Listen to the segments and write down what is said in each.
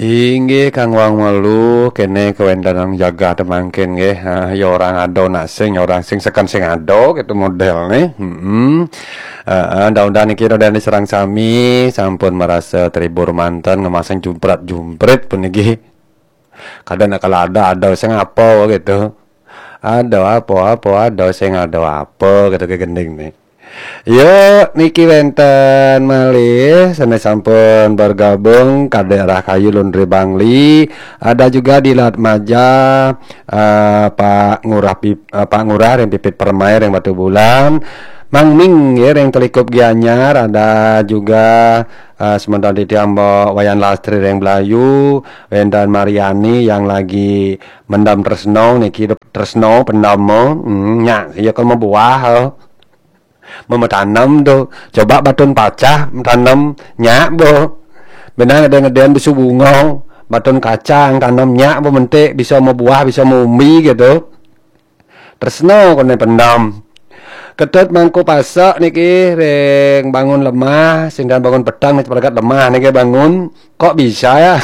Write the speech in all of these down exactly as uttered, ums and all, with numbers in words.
Inggih, Kang Wang Melu, kene kewenten jagat mangkin nggih. Ha, ya orang ado nak sing, ya orang sing seken sing ado gitu model nih. Hmm. Heeh, mudah-mudahan niki ro dene sareng sami sampun merasa terhibur manten ngemasang jumprat-jumprit puniki. Kadang nak kalau ada, ada sing apa gitu. Ada apa-apa, ada sing ada apa gitu ke gending nih. Yuk, niki wenten malih, sanes sampun bergabung Kadek Rahayu Lundri Bangli, ada juga di Latmaja, eh, Pak Ngurah Pip- eh, Pak Ngurah ring Pipit Permai ring Batu Bulan, Mang Ming ya ring Telikup Gianyar, ada juga eh, sementara di Tiambo Wayan Lastri ring Belayu, Wendan Mariani yang lagi mendam tresno niki, tresno pendam, hmm, nyak ya kalau mau buah, oh. Mau tanam tuh, coba batun pacah tanam nyak bo. Benang ada ngedean besu bunga, batun kacang tanam nyak bo, mentik bisa mau buah, bisa mau umbi gitu. Tresno kone pendam. Ketut mangku pasak niki ring bangun lemah, singkan bangun petang nih, ceperegat lemah niki bangun. Kok bisa ya?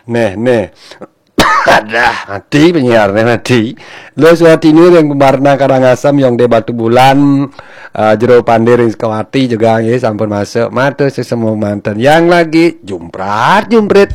Neh, neh. Adah, mati penyiar nih, mati. Lo suatini ring Pembarna Karangasem, yang de Batu Bulan, eh, Jero Pande ring Sukawati juga nggih sampun masuk. Matur sesemu manten yang lagi jumprat jumprit.